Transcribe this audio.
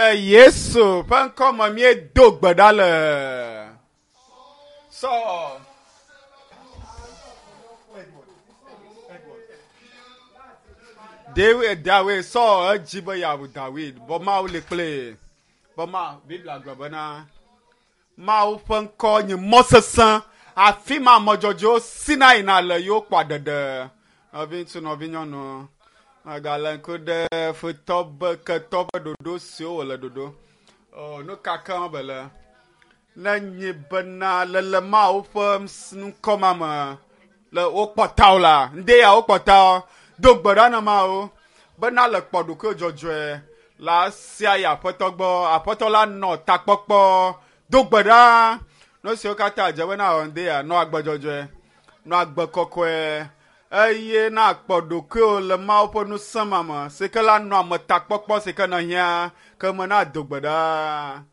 Le Yesu ƒe ŋkɔ me míedo gbe ɖa le. Sɔ. David, Dawid, Saul edzi be yeawu Dawid, bɔ Mawu li kpli. Bɔ ma, Biblia gblɔ bena Mawu ƒe ŋkɔ nye mɔ sesẽ, afi ma ame dzɔdzɔewo sina yina le ye wokpɔa ɖeɖe. Nɔviŋutsu, nɔvinyɔnu, mègalé ŋku ɖe futɔ be ketɔ ƒe ɖoɖo siwo wòle ɖoɖo. O, nu ka ke wɔm bele? Ne nyi bena le le Mawu ƒe ŋkɔ ma me le wokpɔ tawò la, ŋde ya wokpɔ tawò. Do gbe ɖa na Mawu bena le kpɔ ɖokuiwò dzɔdzɔe la sia yi Aƒetɔ gbɔ. Aƒetɔ la nɔ takpɔkpɔ. Do gbe ɖa. Nu siwo katã dze bena wɔ ŋde ya, nɔ agbe dzɔdzɔe, nɔ agbe kɔkɔe eye na kpɔ ɖokuiwò le Mawu ƒe ŋusẽ ma me si ke la nɔ ame takpɔkpɔ si ke nèhiã ke me na do gbe ɖa.